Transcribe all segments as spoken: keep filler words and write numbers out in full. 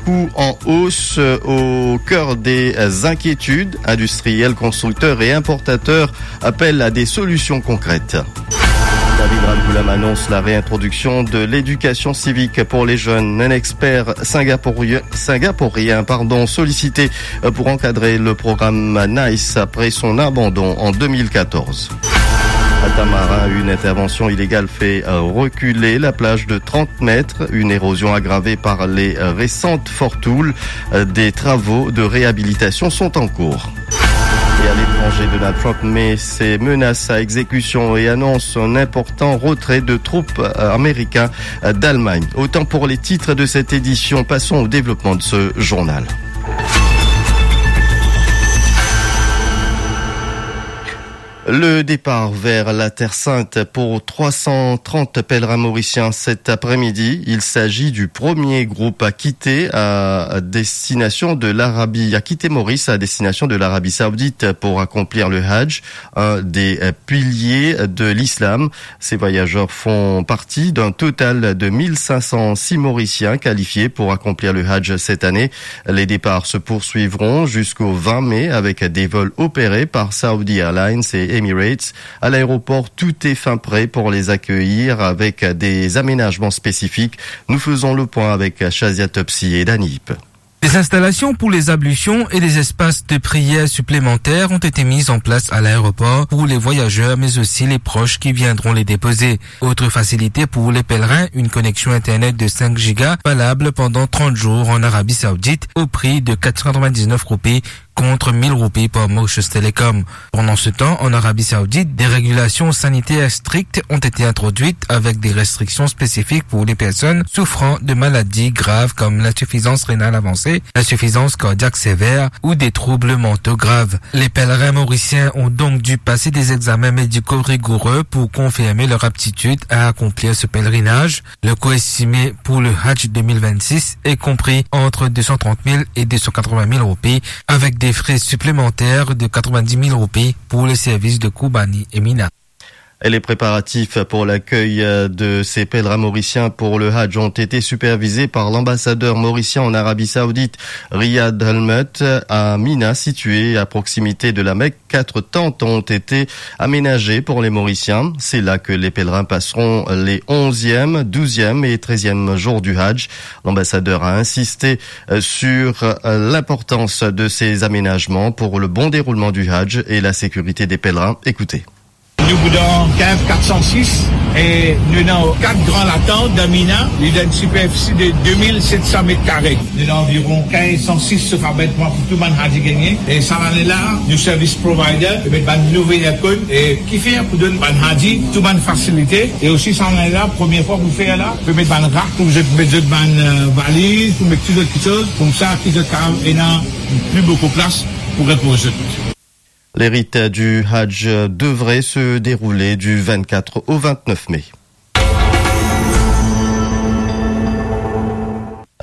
Coût en hausse, euh, au cœur des, euh, inquiétudes. Industriels, constructeurs et importateurs appellent à des solutions concrètes. David Ramgoolam annonce la réintroduction de l'éducation civique pour les jeunes. Un expert singapourien, singapourien, pardon, sollicité, euh, pour encadrer le programme NICE après son abandon en deux mille quatorze. À Tamarin, une intervention illégale fait, euh, reculer la plage de trente mètres. Une érosion aggravée par les, euh, récentes fortoules, euh, des travaux de réhabilitation sont en cours. Et à l'étranger, Donald Trump met ses menaces à exécution et annonce un important retrait de troupes, euh, américains, euh, d'Allemagne. Autant pour les titres de cette édition. Passons au développement de ce journal. Le départ vers la Terre Sainte pour trois cent trente pèlerins mauriciens cet après-midi. Il s'agit du premier groupe à quitter à destination de l'Arabie, à quitter Maurice à destination de l'Arabie Saoudite pour accomplir le Hajj, un des, euh, piliers de l'islam. Ces voyageurs font partie d'un total de mille cinq cent six Mauriciens qualifiés pour accomplir le Hajj cette année. Les départs se poursuivront jusqu'au vingt mai avec des vols opérés par Saudi Airlines et Emirates. À l'aéroport, tout est fin prêt pour les accueillir avec des aménagements spécifiques. Nous faisons le point avec Shazia Topsy et Dany Ip. Des installations pour les ablutions et des espaces de prière supplémentaires ont été mis en place à l'aéroport pour les voyageurs, mais aussi les proches qui viendront les déposer. Autre facilité pour les pèlerins, une connexion Internet de cinq giga valable pendant trente jours en Arabie Saoudite au prix de quatre cent quatre-vingt-dix-neuf roupies contre mille roupies par Mauritius Telecom. Pendant ce temps, en Arabie Saoudite, des régulations sanitaires strictes ont été introduites avec des restrictions spécifiques pour les personnes souffrant de maladies graves comme l'insuffisance rénale avancée, l'insuffisance cardiaque sévère ou des troubles mentaux graves. Les pèlerins mauriciens ont donc dû passer des examens médicaux rigoureux pour confirmer leur aptitude à accomplir ce pèlerinage. Le coût estimé pour le Hajj deux mille vingt-six est compris entre deux cent trente mille et deux cent quatre-vingt mille roupies, avec des frais supplémentaires de quatre-vingt-dix mille roupies pour les services de Kourbani et Mina. Et les préparatifs pour l'accueil, euh, de ces pèlerins mauriciens pour le Hajj ont été supervisés par l'ambassadeur mauricien en Arabie Saoudite, Riyad Helmut, à Mina, situé à proximité de la Mecque. Quatre tentes ont été aménagées pour les Mauriciens. C'est là que les pèlerins passeront les onzième, douzième et treizième jours du Hajj. L'ambassadeur a insisté, euh, sur, euh, l'importance de ces aménagements pour le bon déroulement du Hajj et la sécurité des pèlerins. Écoutez. Nou pou dan cave quatre cent six e nou dan kat gran latant dan Mina, li dan enn siperfisi de deux mille sept cents mètres carrés. Nou dan anviron quinze cent six sof abitman pou tou bann Haji gagne. E sa lane la, nou service provider, nou met bann nouvo aircon, e ki fer pou donn bann Haji tou bann fasilite. E osi sa lane la, premie fwa pou fer la, pou met bann rak pou zot met zot bann, euh, valiz, pou met tou zot kiksoz, koumsa ki zot kapav ena pli boukou plas pou repoz zot. Les rites du Hajj devraient se dérouler du vingt-quatre au vingt-neuf mai.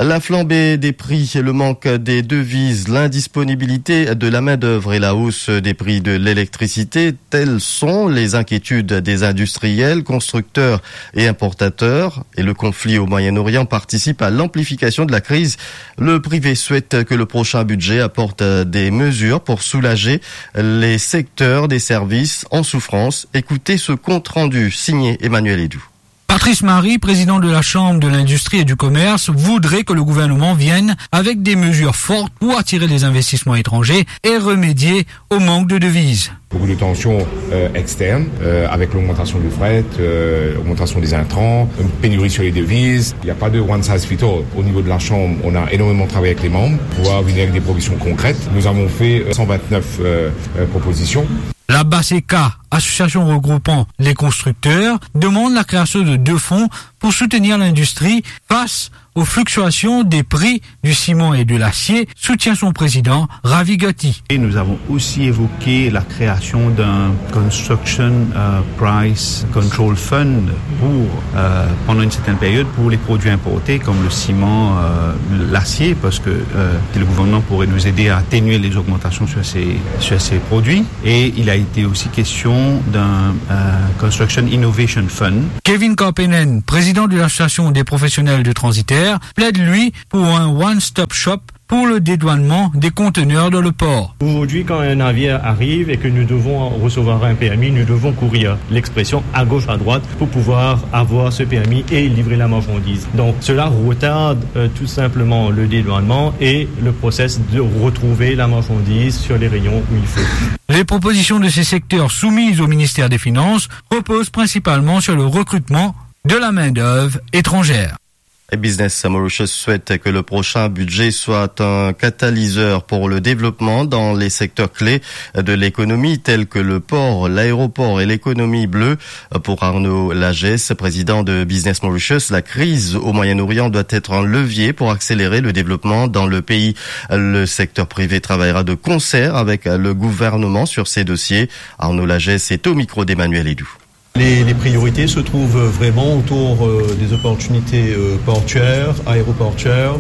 La flambée des prix, le manque des devises, l'indisponibilité de la main-d'œuvre et la hausse des prix de l'électricité, telles sont les inquiétudes des industriels, constructeurs et importateurs. Et le conflit au Moyen-Orient participe à l'amplification de la crise. Le privé souhaite que le prochain budget apporte, euh, des mesures pour soulager les secteurs des services en souffrance. Écoutez ce compte-rendu signé Emmanuel Edou. Patrice Marie, président de la Chambre de l'Industrie et du Commerce, voudrait que le gouvernement vienne avec des mesures fortes pour attirer les investissements étrangers et remédier au manque de devises. Beaucoup de tensions, euh, externes, euh, avec l'augmentation du fret, euh, l'augmentation des intrants, une pénurie sur les devises. Il n'y a pas de one size fit all. Au niveau de la Chambre, on a énormément travaillé avec les membres pour pouvoir venir avec des propositions concrètes. Nous avons fait, euh, cent vingt-neuf, euh, euh, propositions. La BASECA, association regroupant les constructeurs, demande la création de deux fonds pour soutenir l'industrie face aux fluctuations des prix du ciment et de l'acier, soutient son président, Ravi Gatti. Et nous avons aussi évoqué la création d'un Construction, euh, Price Control Fund pour, euh, pendant une certaine période, pour les produits importés comme le ciment, euh, l'acier, parce que, euh, le gouvernement pourrait nous aider à atténuer les augmentations sur ces, sur ces produits. Et il a été aussi question d'un, euh, Construction Innovation Fund. Kevin Karpenen, président de l'association des professionnels de transitaires, plaide, lui, pour un one-stop shop pour le dédouanement des conteneurs dans le port. Aujourd'hui, quand un navire arrive et que nous devons recevoir un permis, nous devons courir. L'expression à gauche, à droite, pour pouvoir avoir ce permis et livrer la marchandise. Donc, cela retarde, euh, tout simplement le dédouanement et le process de retrouver la marchandise sur les rayons où il faut. Les propositions de ces secteurs soumises au ministère des Finances reposent principalement sur le recrutement de la main-d'œuvre étrangère. Et Business Mauritius souhaite que le prochain budget soit un catalyseur pour le développement dans les secteurs clés de l'économie, tels que le port, l'aéroport et l'économie bleue. Pour Arnaud Lagesse, président de Business Mauritius, la crise au Moyen-Orient doit être un levier pour accélérer le développement dans le pays. Le secteur privé travaillera de concert avec le gouvernement sur ces dossiers. Arnaud Lagesse est au micro d'Emmanuel Edou. Les, les priorités se trouvent vraiment autour, euh, des opportunités, euh, portuaires, aéroportuaires,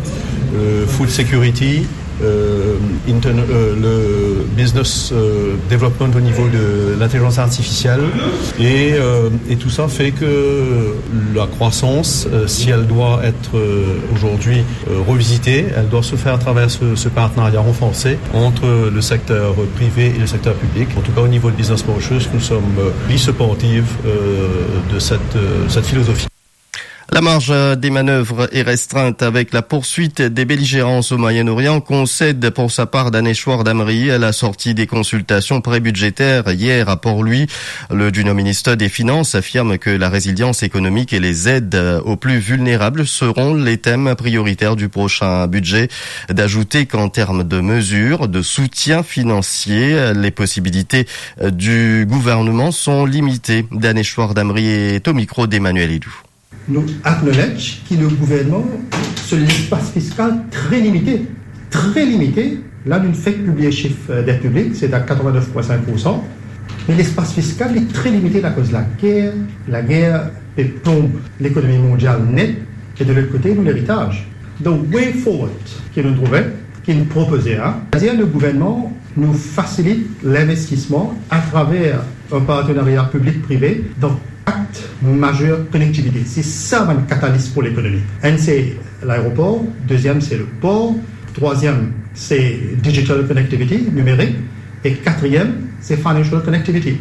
euh, food security, euh, intern-, euh, le business, euh, development au niveau de l'intelligence artificielle. Et, euh, et tout ça fait que la croissance, euh, si elle doit être, euh, aujourd'hui, euh, revisitée, elle doit se faire à travers ce, ce partenariat renforcé entre le secteur privé et le secteur public. En tout cas, au niveau de Business Mauritius, nous sommes, euh, supportifs, euh, de cette, euh, cette philosophie. La marge de manœuvre est restreinte avec la poursuite des belligérances au Moyen-Orient, concède pour sa part Daneshwar Damri à la sortie des consultations prébudgétaires hier à Port-Louis. Le Junior Ministre des Finances affirme que la résilience économique et les aides aux plus vulnérables seront les thèmes prioritaires du prochain budget. D'ajouter qu'en termes de mesures de soutien financier, les possibilités du gouvernement sont limitées. Daneshwar Damri est au micro d'Emmanuel Edou. Nou acknowledge ki nou gouvernman, so lespas fiskal tre limite, tre limite. La, nou fek pibliye sif, euh, det piblik, se a quatre-vingt-neuf point cinq pour cent. Me lespas fiskal li tre limite akoz lager, lager pe plonb lekonomi mondial net, e de lot kote, nou leritaz. The way forward ki nou trouve, ki nou propoze, hein, c'est-à-dire le gouvernement nous facilite l'investissement à travers un partenariat public-privé dans quatre majeurs connectivités. C'est ça, bann catalyst pour l'économie. Un, c'est l'aéroport. Deuxième, c'est le port. Troisième, c'est digital connectivity, numérique. Et quatrième, c'est financial connectivity.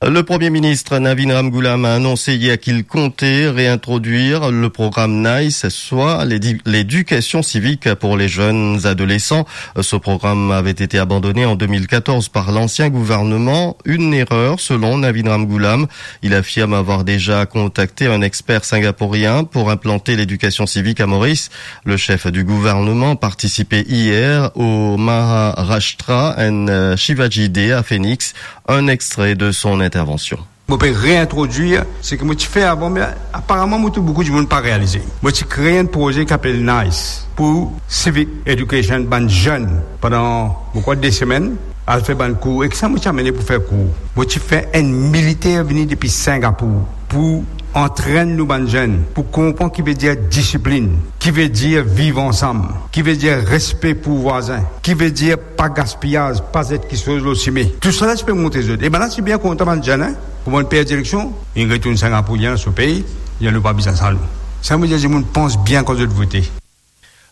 Le Premier ministre Navin Ramgoolam a annoncé hier qu'il comptait réintroduire le programme NICE, soit l'édi-, l'éducation civique pour les jeunes adolescents. Ce programme avait été abandonné en deux mille quatorze par l'ancien gouvernement. Une erreur, selon Navin Ramgoolam. Il affirme avoir déjà contacté un expert singapourien pour implanter l'éducation civique à Maurice. Le chef du gouvernement participait hier au Maharashtra and, euh, Shivaji Day à Phoenix. Un extrait de son intervention. Mo pe reintrodwir seki mo ti fer avan, me aparaman mo trouv boukou dimoun pa realize. Mo ti kree enn proze ki apel NICE pou civic education, bann zenn, pandan, mo krwar, de semenn, al fer bann kour. E kisa mo ti amene pou fer kour? Mo ti fer enn militer vini depi Singapour pou antrenn nou bann zenn, pou konpran ki vedir disiplinn, ki vedir viv ansam, ki vedir respe pou vwazin, ki vedir pa gaspiyaz, pa zet kiksoz lor sime. Tousala ti pe montre zot. E bann la ti bien kontan, bann zenn, hein. Kouma inn perdi eleksion, inn retourn Singapour, li al dan so pei, li dir nou pa bizin sa nou. Sa mo dir dimoun, pans bien kan zot vote.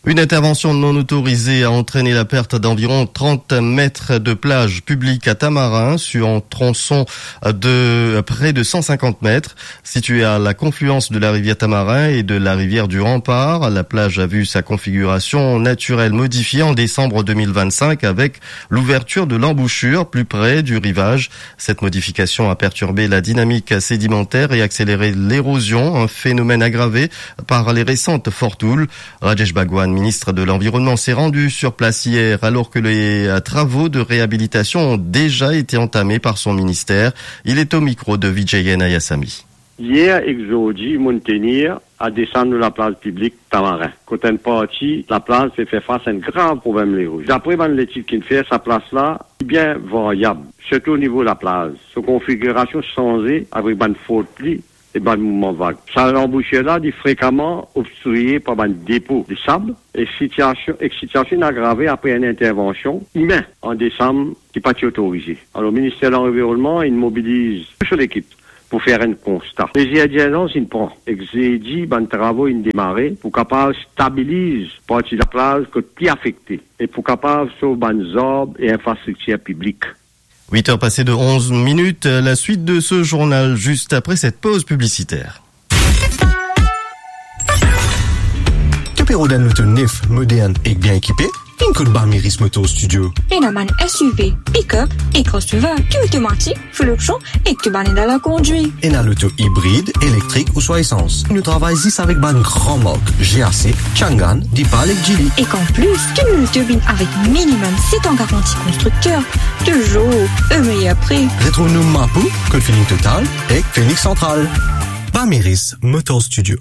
Une intervention non autorisée a entraîné la perte d'environ trente mètres de plage publique à Tamarin, sur un tronçon de près de cent cinquante mètres. Située à la confluence de la rivière Tamarin et de la rivière du Rempart, la plage a vu sa configuration naturelle modifiée en décembre deux mille vingt-cinq avec l'ouverture de l'embouchure plus près du rivage. Cette modification a perturbé la dynamique sédimentaire et accéléré l'érosion, un phénomène aggravé par les récentes fortes houles. Rajesh Bhagwan, ministre de l'Environnement, s'est rendu sur place hier alors que les travaux de réhabilitation ont déjà été entamés par son ministère. Il est au micro de Vijay Nayasamy. Yer ek zordi, monn tenir a desann lor laplaz piblik Tamarin, kot enn parti laplaz pe fer fas a enn grav problem leroz. Dapre bann letid ki'nn fer, sa plas la bien varyab, sirtou o nivo laplaz. So konfigirasion sanze avek bann fort pli e bann mouvman vag. Sa lanbousier la, li frekaman obstriye par bann depo de sab, e sitiasion, ek sitiasion inn agrave apre enn intervansion imin an desam ki pa ti otorize. Alor, Minister Lanvironnman inn mobiliz tou so lekip pou fer enn konsta. Plizier dirzans inn pran, ek zedi bann travo inn demare pou kapav stabiliz parti laplaz kot pli afekte e pou kapav sov bann zarb e infrastriktir piblik. Huit heures passées de onze minutes, la suite de ce journal juste après cette pause publicitaire. To pe rod enn loto nef, modern ek bien ekipe? Vinn kot Bamiris Motor Studio. Ena bann S U V, pick-up e crossover ki otomatik, full option ek to bann ed a la kondwir. Ena loto ibrid, elektrik ouswa esans. Nou travay zis avek bann gran mark, G A C, Changan, Deepal ek Geely. Ek an plis, to loto vinn avek minimum set an garanti konstrikter, touzour o meyer pri. Retrouv nou Mapou, kot Feeling Total ek Phoenix Central. Bamiris Motor Studio.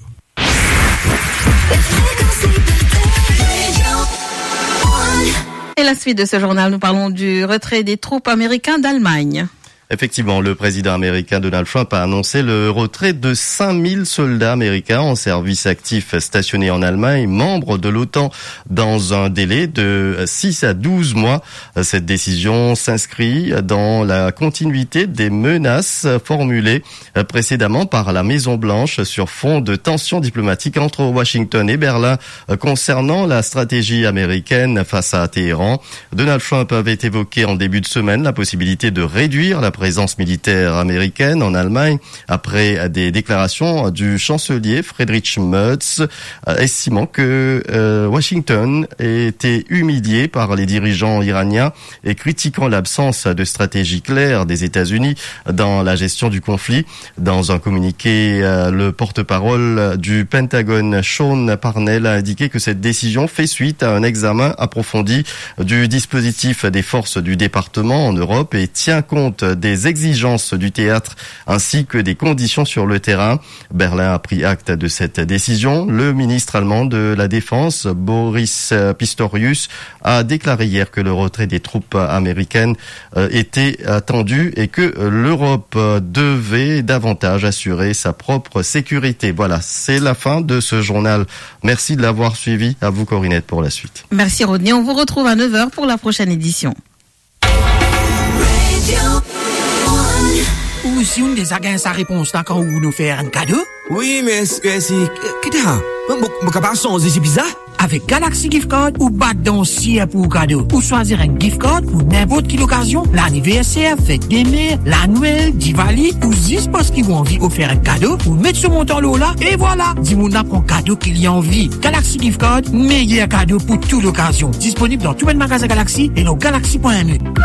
Et la suite de ce journal, nous parlons du retrait des troupes américaines d'Allemagne. Effectivement, le président américain Donald Trump a annoncé le retrait de cinq mille soldats américains en service actif stationnés en Allemagne, membres de l'otan, dans un délai de six à douze mois. Cette décision s'inscrit dans la continuité des menaces formulées précédemment par la Maison-Blanche sur fond de tensions diplomatiques entre Washington et Berlin, euh, concernant la stratégie américaine face à Téhéran. Donald Trump avait évoqué en début de semaine la possibilité de réduire la présence militaire américaine en Allemagne après des déclarations du chancelier Friedrich Merz, euh, estimant que, euh, Washington était humilié par les dirigeants iraniens et critiquant l'absence de stratégie claire des États-Unis dans la gestion du conflit. Dans un communiqué, euh, le porte-parole du Pentagone, Sean Parnell, a indiqué que cette décision fait suite à un examen approfondi du dispositif des forces du département en Europe et tient compte des exigences du théâtre ainsi que des conditions sur le terrain. Berlin a pris acte de cette décision. Le ministre allemand de la Défense, Boris, euh, Pistorius, a déclaré hier que le retrait des troupes américaines, euh, était attendu et que, euh, l'Europe, euh, devait davantage assurer sa propre sécurité. Voilà, c'est la fin de ce journal. Merci de l'avoir suivi. À vous, Corinette, pour la suite. Merci, Rodney. On vous retrouve à neuf heures pour la prochaine édition. Ou si ou deza gagn sa repons la kan ou nou fer enn kado? Wi, me eski, ki, ki ta? Mo, mo, mo kapav sanze si bizar? Avek Galaxy Gift Card, ou bat dan siel pou kado. Ou swazir enn gift card pou ninport ki lokazion, laniverser, fet de mer, Lanwel, Diwali, ou zis parski ou anvi ofer enn kado, ou met so montan lor la, e vwala, dimoun la pran kado ki li anvi. Galaxy Gift Card, meyer kado pou tou lokazion. Disponib dan tou bann magazin Galaxy e lor galaxy pwin net.